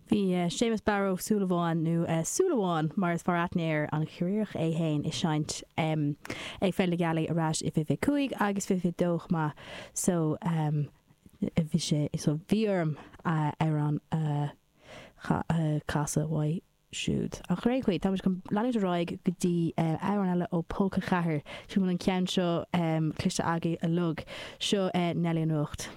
Bhí Séamus Barra Ó Súilleabháin, nó Súilleabhán mar is fearr aithne air, an Chiarraíoch é fhéin, ag seinnt ag Féile na Gealaí ar ais i 2025 agus 2022 chomh maith so bhí sé so bhí orm amhrán a chasadh uaidh siúd. Ach ar aon chaoi, táimid chun leanúint ar aghaidh go dtí amhrán eile ó Pólca 4. Sílim go bhfuil an ceann seo cloiste agaibh uilig. Seo Neilí an Nuacht.